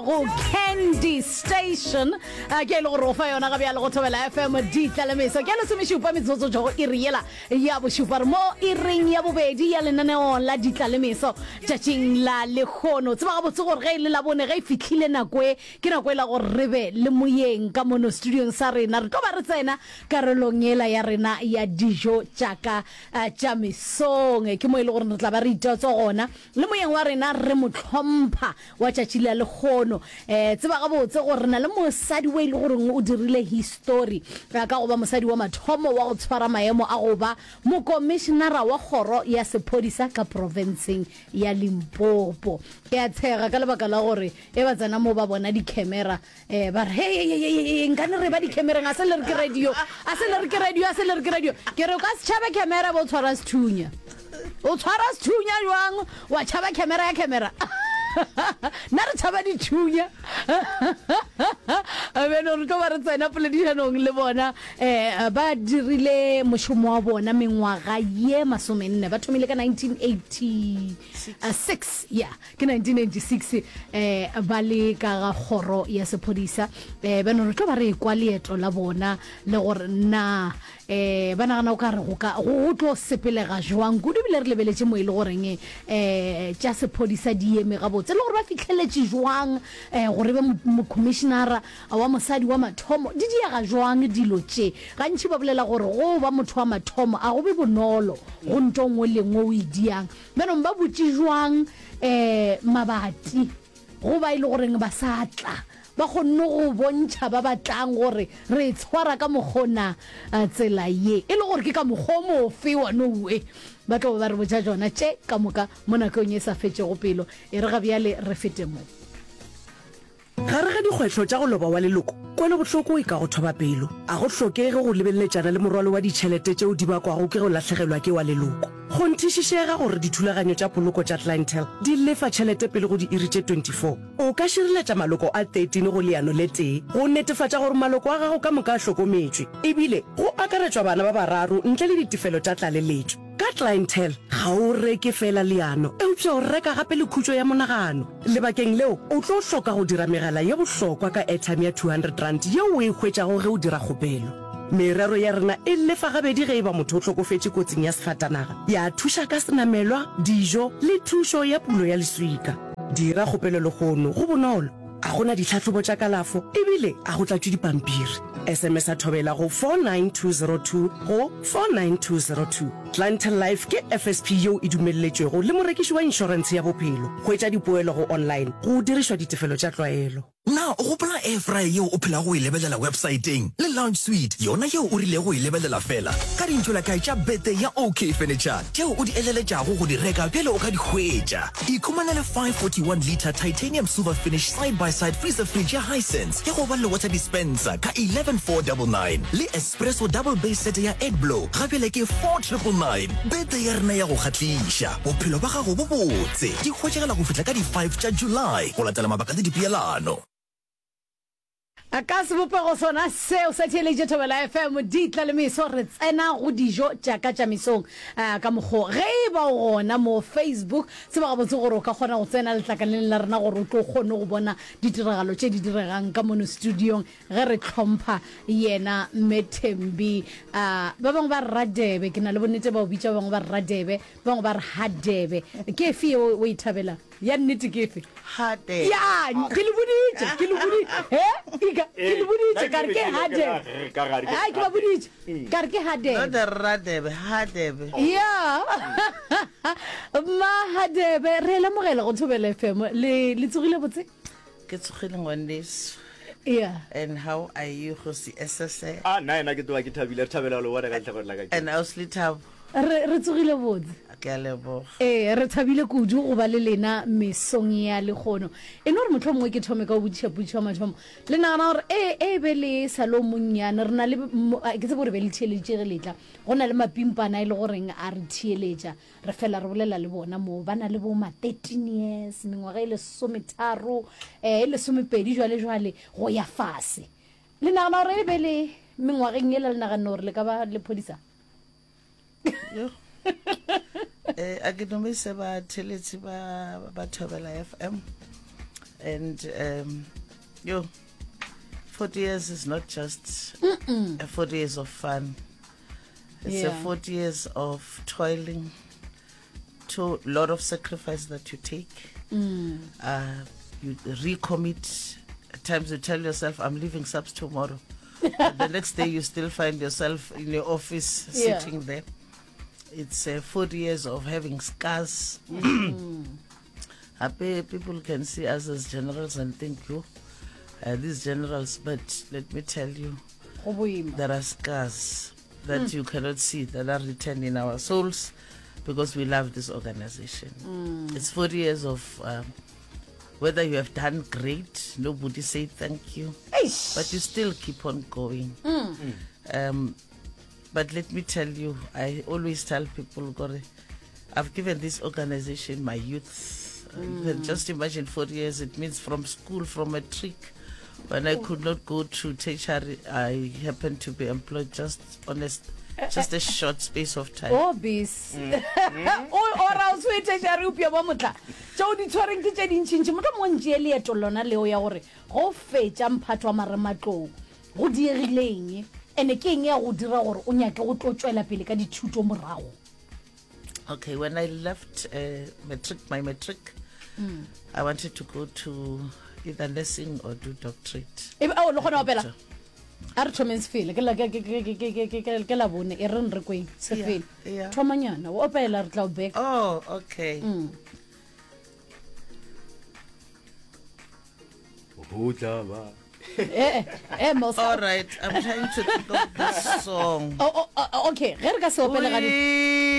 Go Candy Station a ke e le gore o fa yona ga bjale go Thobela FM ditlalemeso ke lesomešupa metsotso tšo go iri yela ya bošupa re mo iring ya bobedi ya lenaneo la ditlalemeso tšatšing la lehono. Tseba gabotse gore ge e le Labone ge e fihlile nako e ke nako e la gore re be le moyeng ka mono studiong sa rena re tlo ba re tsena karolong yela ya rena ya dijo tša ka tša mesong ke mo e le gore re tla ba re itotswa gona le moyeng wa rena re mo hlompha wa tšatši la lehono. E, tseba gabotse gore re na le mosadi o e le goreng o dirile histori ka go ba mosadi wa mathomo wa go tshwara maemo a go ba mokomišenara wa kgoro ya sephodisa ka profenseng ya Limpopo. Ke a tshega ka lebaka la gore e ba tsena mo ba bona dikhemera e ba re hey nkane re ba dikhemereng a se le re ke radio a se le re ke radio a se le re ke radio ke re o ka se tšhabe khemera bo tshwara sethunya o tshwara sethunya jwang wa tšhaba khemera ya khemera nna re tšhaba dithunya beno re tlo ba re tsena poledišanong le bona um ba dirile mošomo wa bona mengwaga ye masomenne ba thomile ka 1986 ya Ke 1996 eh ba le ka ga kgoro ya sephodisa eh beno re tlo ba re ekwa leeto la bona le gore na eh ba nagana o ka re go ka go tlo sepelega jwang kudu bile re lebeletše mo e le goreng eh tša sephodisa di eme gabotse le gore ba fihleletše jwang eh gore be mokhomišenara wa mosadi wa mathomo di diega jwang dilo tše gantši ba bolela gore go ba motho wa mathomo a go be bonolo go nto nngwe le nngwe o e diang Bjanong ba butše jwang um mabati go ba e le goreng ba sa tla? Ba kgonne go bontšha ba ba tlang gore re e tshwara ka mokgo na tsela ye, e le gore ke ka mokgwa o mofe wa Noue. Ba tlo ba ba re botša tšona tše ka moka mo nakong e sa fetšego pelo. E re ga bjale re fete mo. Gare ga dikgwetlho tša go loba wa leloko, kwelobohloko e ka go thoba pelo. A go hlokege go lebeleletšana le morwalo wa ditšhelete tšeo di bakwago ke go lahlegelwa ke wa leloko. Kgonthišišega gore dithulaganyo tša poloko tša Clientele di lefa tšhelete pele go diiri tše 24. O ka šireletša maloko a 13 go leano le tee go netefatša gore maloko a gago ka moka a hlokometšwe, ebile go akaretšwa bana ba bararo ntle le ditefelo tša tlaleletšo. Ka Clientele, ga o reke feela leano, eupša o reka gape le khutšo ya monagano. Lebakeng leo, o tlo hloka go dira megala ye bohlokwa ka airtime ya R200 yeo o e hwetšago ge o dira kgopelo. Merero ya rena e lefa gabedi ge e ba motho o hlokofetše kotsing ya sefatanaga, ya thuša ka senamelwa, dijo le thušo ya pulo ya leswika. Dira kgopelo lehono, go bonolo, ga go na ditlhahlobo tša kalafo ebile ga go tlatšwe dipampiri. SMS-a Thobela go 49202 go 49202. Clientele Life ke FSP yeo e dumelletšwego le morekiši wa inšorentshe ya bophelo. Hwetša dipoelo go online go dirišwa ditefelo tša tlwaelo. Na o gopola air fryer yeo o phelago o e lebelela websaeteng le lounge suite yona yeo o rilego go e lebelela feela ka dintšolakae tša birthday ya OK Furniture tšeo o di eleletšago go di reka bjale o ka di hwetša? Ikhumanele 541 litre titanium silver finish side by side freezer fridge ya Hisense ya go ba le water dispenser ka 11499 le espresso double base set ya Edblo ga bjale ke 4999. Birthday ya rena ya go kgahliša, bophelo ba gago bo botse. Di hwetšagala go fihla ka di 5 tša July go latela mabaka le dipeelano. Ka sebopego sona seo sa theeletše Thobela FM di tla le meso re tsena go dijo tša ka tša mesong ka mokgo ge e ba o gona mo Facebook tseba gabotse gore o ka kgona go tsena letlakaleng la rena gore o tlo kgone go bona ditiragalo tše di diregang ka mono studiong ge re hlompha yena Mme Thembi ba bangwe ba re Radebe ke na le bonnete ba o bitša ba bangwe ba re Radebe ba bangwe ba re Hadebe ke efe yeo o e thabelang Ya nnete ke efe? Hadebe. Ya, ke le boditše, ke le boditše. He, Ika, ke le boditše, ka re ke Hadebe. Ai, ke ba boditše, ka re ke Hadebe. Not Radebe, Hadebe. Ya. Mma Hadebe, re a lemogela go Thobela FM. Le, le tsogile botse? Ke tsogile ngwaneso. Yeah. And how are you, Kgosi Esese? Ah, nna ena ke tloga ke thabile, re thabela go le bona ka lehlakore la ka. And Ausi Lethabo? Re, re tsogile botse. Ke a leboga. Ee, re thabile kudu go ba le lena mesong ya lehono. E no re mohlomongwe ke thome ka go botšiša potšišo ya mathomo. Le nagana gore e, e be le sa le o monnyane, re na le, ke tsebe gore be le theeleditše ge le tla, go na le mapimpana e le goreng a re theeletša. Re fela re bolela le bona moo, ba na le bo ma 13 years, mengwaga e lesometharo, eh, e lesomepedi jwale jwale, go ya fase. Le nagana gore e be le mengwageng yela le naganne gore le ka ba lephodisa? Yo. Eh, a ke dumise batheletši ba ba Thobela FM. And um, yo, 40 years is not just a 40 years of fun. It's a Yeah. 40 years of toiling, to lot of sacrifice that you take. Uh, you recommit. At times you tell yourself, I'm leaving SAPS tomorrow. But the next day you still find yourself in your office Yeah. sitting there. It's uh, 40 years of having scars. Happy people can see us as generals and think, you, uh, these generals, but let me tell you, Go boima. there are scars that you cannot see that are written in our souls because we love this organization. It's 40 years of um, whether you have done great, nobody say thank you, Eish. but you still keep on going. Um, but let me tell you, I always tell people, Gore, I've given this organization my youth. Uh, You can just imagine 40 years, it means from school, from a trick. When I could not go to tertiary, I happened to be employed just on a, s- just a short space of time. o bis o ora o tshwetešare upša ba motla tšeo di tshwareng ke tše dintšhintšhi motlho mongwe ntšee leeto lona leo ya gore go fetša mphato wa marematlou go diegileng ene ke eng ya go dira gore o nyake go tlo tšwela pele ka dithuto morago Okay, when I left uh, matric, my matric, I wanted to go to either nursing or do doctorate. e ao le kgona go opela a re thomeng sefele ke la- ke- ke- ke- ke- ke- ke- ke- ke la bone e reng re kweng sefele Yeah, yeah. thomanyana o opela re tla o beka Oh, okay. Go tla ba. ee ee Mosa. All right, I'm trying to think of this song. Oh, oh, oh, okay ge re ka se opele ga di We.